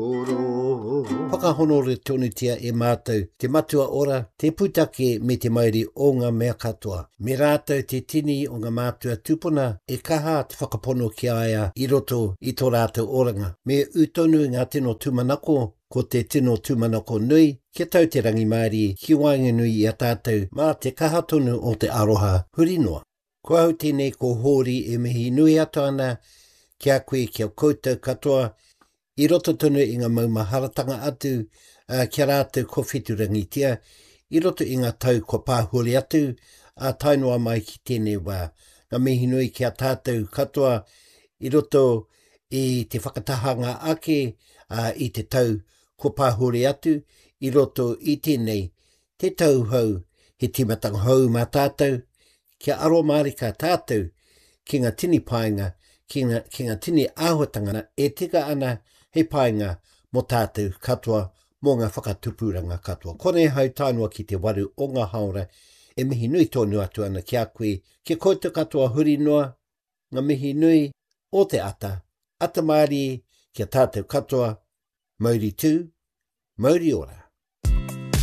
Whakahonore tonutia e mātou te Matua Ora, te pūtake me te mauri o ngā mea katoa. Me rātou te tini o ngā mātua tūpuna e kaha te whakapono ki a ia i roto i tō rātou oranga. Me ū tonu ngā tino tūmanako, ko te tino tūmanako nui, kia tau te rangimārie ki waenganui i a tātou mā te kaha tonu o te aroha huri noa. Ko au tēnei ko Hōri e mihi nui atu ana ki a koe ki a koutou katoa i roto tonu i ngā maumaharatanga atu ki a rātou kua wheturangitia i roto i ngā tau kua pāhore atu ā tae noa mai ki tēnei wā. Ngā mihi nui ki a tātou katoa i roto i te whakatahanga ake i te tau kua pāhore atu i roto i tēnei te tau hou, he tīmatanga hou mā tātou, kia aro mārika tātou ki ngā tini painga, ki ngā, ki ngā tini āhuatanga e tika ana hei painga mō tātou katoa, mō ngā whakatupuranga katoa. Konei hau tae noa ki te waru o ngā haora e mihi nui tonu atu ana ki a koe, ki a koutou katoa huri noa, ngā mihi nui o te ata, ata mārie ki a tātou katoa, mauri tū, mauri ora.